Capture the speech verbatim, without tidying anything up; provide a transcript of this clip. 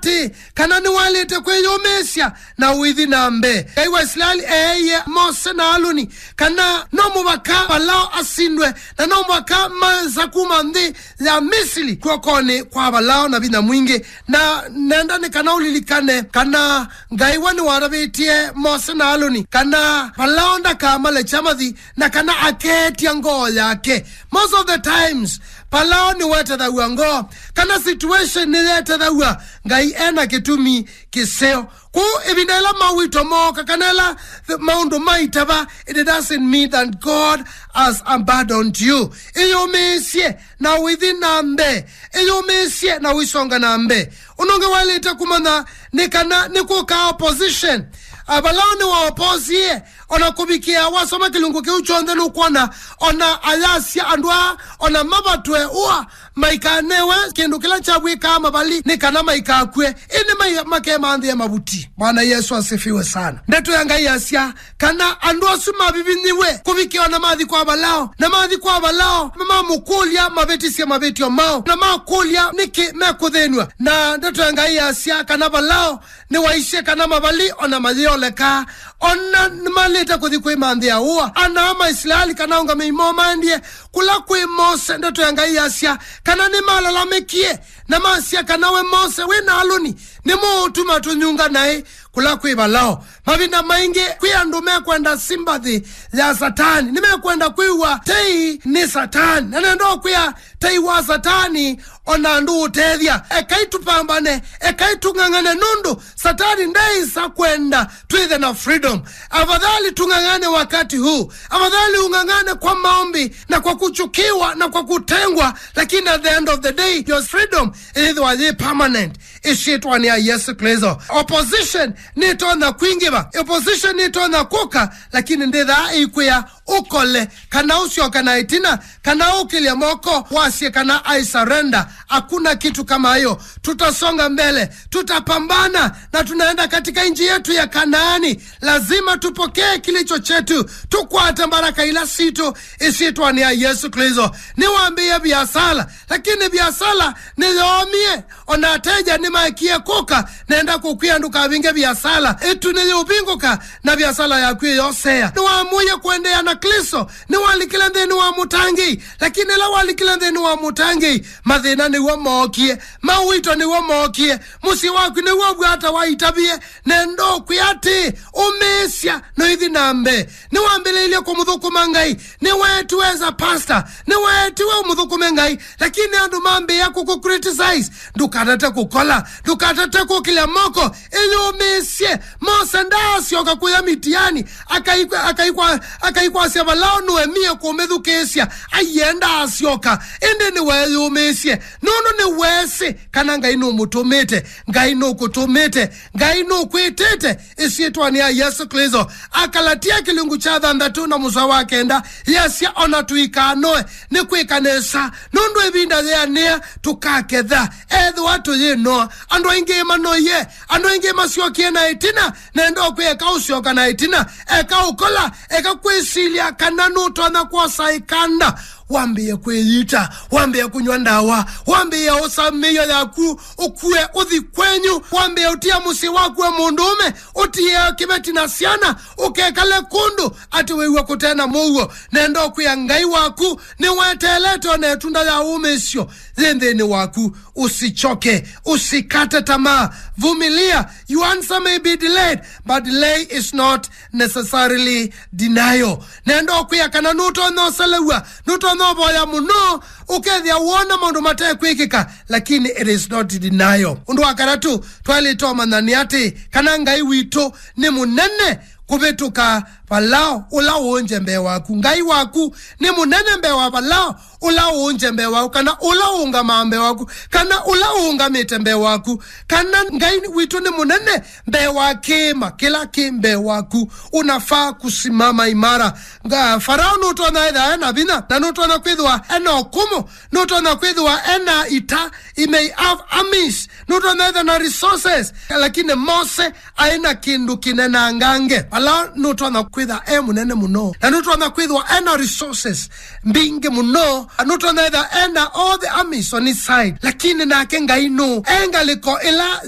atĩ kana nĩwaĩlĩte kwĩyũmĩĩsya na ũithi na mbee. Ngai wa Isilaeli eeie Mose na Aluni kana no mũvaka Valao asindwe, na no mũvaka maesa kuma nthĩ ya Misili kw'okonĩ kwa Valao na vinya mwingĩ. Na nenda nĩ kana ũlilikane kana Ngai we nĩwatavĩtye Mose na Aluni kana Valao ndakamalekya mathi, na kana akeetya ngoo yake. Most of the times, Valao nĩwetethaw'a ngoo, kana situation nĩyetethaw'a Ngai ena kĩtumi kĩseo. Kwoou ĩvinda ĩla mawito mooka, kana ĩla th-, maũndũ maitava, it doesn't mean that God has abandoned you. Ĩyũmĩĩsye na ũithi na mbee, ĩyũmĩĩsye na ũisonga na mbee. Ũndũ ũngĩ waĩlĩte kũmanya nĩ kana nĩkũkaa opposition. Ah, Valao nĩwaoposie, ona kũvikĩa wasoma kĩlungu kĩu kyonthe nũkwona, ona ayasya andũ aa, ona mavatwe ũa, maikanewe kĩndũ kĩla kyavw'ĩkaa mavali nĩ kana maikakw'e, ĩndĩ mai-, makemanthĩe mavuti. Bwana Yesu asifiwe sana. Ndeto ya Ngai yasya kana andũ asu mavivinyiwe kũvikĩa ona mathi kwa Valao, na mathi kwa Valao, mamũkũlya mavĩtisye mavĩtyo mao, na makũlya nĩkĩ mekũthĩnw'a. Na ndeto ya Ngai yasya kana Valao nĩwaisye kana mavali ona mayĩoleka, ona nĩmalĩte kũthi kwĩmanthĩa ũa. Ana ma Isilaeli kana aũngamĩi moo maendie kũla kwĩ Mose, ndeto ya Ngai yasya kana nĩmalalamĩkie na masya kana we Mose wĩ na Aluni nĩmũũtuma tũnyunga naĩ kũla kwĩ Valao. Mavinda maingĩ kwĩ andũ mekwenda sympathy ya Satani, nĩmekwenda kwĩw'a tei nĩ Satani. Na nenda ũkwĩa tei wa Satani ona ndũũtethya. Ekai tũpambane, ekai tũng'ang'ane, nũndũ Satani ndeĩsa kwenda twĩthe na freedom. Afadhali tung'ang'ane wakati huu, afadhali ung'ang'ane kwa maombi na kwa kuchukiwa na kwa kutengwa, lakini at the end of the day your freedom ĩyĩthĩwa yĩ permanent. Ĩsyĩtwanĩ ya Yesu Kristo. Opposition nĩtonya kwingĩva, opposition nĩtonya kũka, lakini ndĩthaa ĩikwĩa ũkole, kana ũsyoka na ĩtina, kana ũkĩlye moko, wasye kana I surrender. Hakuna kitu kama hiyo. Tutasonga mbele, tutapambana, na tunaenda katika nchi yetu ya Kanaani. Lazima tupokee kilicho chetu, tukwate baraka ila sitũ, ĩsyĩtwanĩ ya Yesu Kristo. Nĩwambĩĩe biasala, lakini biasala nĩyoomie. Ona ateja nĩmaekie kũka, nenda kũkwĩa ndũkavinge viasala. Ĩtu nĩyĩũvingũka, na viasala yaku ĩyosea. Nĩwamũie kũendeea na Klĩsto, nĩwalikile nthĩnĩ wa mũtangĩĩi, lakini ĩla walikile nthĩnĩ wa mũtangĩĩi, mathĩna nĩw'o mookie, mawito nĩw'o mookie, mũsyĩ waku nĩw'o w'ata waitavie. Nenda ũkwĩa atĩ, ũmĩĩsya na ũithi na mbee. Nĩwambĩlĩilye kũmũthũkũma Ngai, nĩweetiwe as a pastor, nĩweetiwe ũmũthũkũme Ngai, lakini andũ mambĩĩa kũkũ criticize. Ndũkatate kũkola, ndũkatate kũkĩlya moko, ĩyũmĩĩsye. Mose ndaasyoka kũya Mitiani, akaikwa-, akaikwa-, akaikwasya Valao nũemie kũmĩthukĩĩsya, aienda asyoka, ĩndĩ nĩweeyũmĩĩsye, nũndũ nĩweesĩ kana Ngai nũmũtũmĩte, Ngai nũkũtũmĩte, Ngai nũkwĩtĩte. Ĩsyĩtwanĩ ya Yesũ Klĩsto. Akalatia kĩlungu kya thanthatũ na mũsoa wa kenda yasya, ona tũikanoe nĩ kwĩka nesa, nũndũ ĩvinda yĩanĩa tũkaketha. Ethĩwa tũyĩnoa, andũ aingĩ manoie, andũ aingĩ masyokie na ĩtina, nenda ũkwĩa eka ũsyoka na ĩtina, eka ũkola, eka kwĩsilya kana nũtonya kwosa ĩkanda. Wambĩĩe kwĩyita, wambĩĩe kũnyw'a ndawa, wambĩĩe ũsa mĩio yaku, ũkue ũthi kwenyu, wambĩĩe ũtia mũsyĩ waku wa mũndũũme, ũtie kĩveti na syana, ũkekale kũndũ atĩ wĩw'a kũte na mũuo. Nenda ũkwĩa Ngai waku nĩweteelete ona ĩtunda ya ũmĩĩsyo yĩ nthĩnĩ waku. Usichoke, usikate tamaa. Vumilia. Your answer may be delayed, but delay is not necessarily denial. Nenda ũkwĩa kana nũtonya ũselew'a, nũtonya ũvoya mũno, ũkethĩa wona maũndũ matekwĩkĩka, lakini it is not denial. Ũndũ wa katatũ twaĩlĩte ũmanya nĩ atĩ kana Ngai witũ nĩ mũnene kũvĩtũka Valao ũla ũũnje mbee waku. Ngai waku nĩ mũnene mbee wa Valao ũla ũũnje mbee waku, kana ũla ũũngamaa mbee waku, kana ũla ũũngamĩte mbee waku, kana Ngai witũ nĩ mũnene mbee wa kĩĩma kĩla kĩ mbee waku. Unafaa kusimama imara. Nga-, Farao nũtonya ĩtha ena vinya, na nũtonya kwĩthĩwa ena ũkũmũ, nũtonya kwĩthĩwa ena ita, he may have armies, nũtonya ĩtha na resources, lakini Mose aĩ na kĩndũ kĩnenangange. Vala nũtonya kwĩtha e mũnene mũno, na nũtonya kwĩthĩwa ena resources mbingĩ mũno, nũtonya ĩtha ena all the armies on his side, lakini nake Ngai nũ e ngalĩko ĩla ya